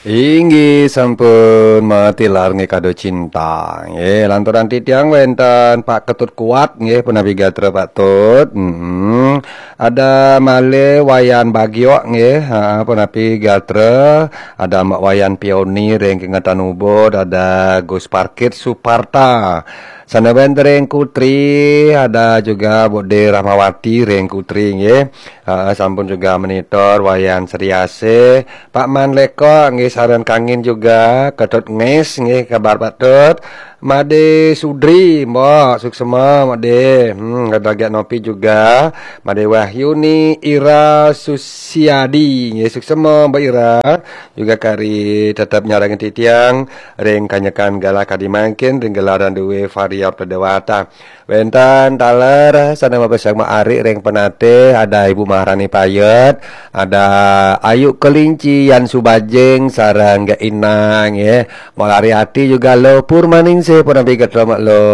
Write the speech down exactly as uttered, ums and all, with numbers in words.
Inggih sampun matilar nggih kado cinta. Nggih, lanturan titiang wénten Pak Ketut Kuat nggih punapi gatra Pak Tut. Mm-mm. Ada malih Wayan Bagio nggih, ha, punapi gatra. Ada Mbak Wayan Pioni ring Kengetan Ubud, ada Gus Parkit Suparta. Sana wénten ring Kutri, ada juga Bude Rahmawati ring Kutri nggih. Ha, sampun juga monitor Wayan Sriasih, Pak Man Leko nggih sareng kangin juga, Ketut Ngis nggih kabar Pak Tut. Made Sudri, Mbok, suksema Made. Hmm, ada Giat Nopi juga, Made Wahyuni, Ira Susiadi nggih suksema Mbok Ira. Juga kari tetep nyarengin titiang ring kanyekan galah kadi mangkin ring gelaran duwe Varia Pradewata. Wénten taler sana mabesang Ari ring Penatih, ada Ibu Maharani Payet, ada Ayu Kelinci, Yan Subajing, sareng Gek Inang, nggih. Malari ati juga lo Purmaningsih punapi gatra Mak lo.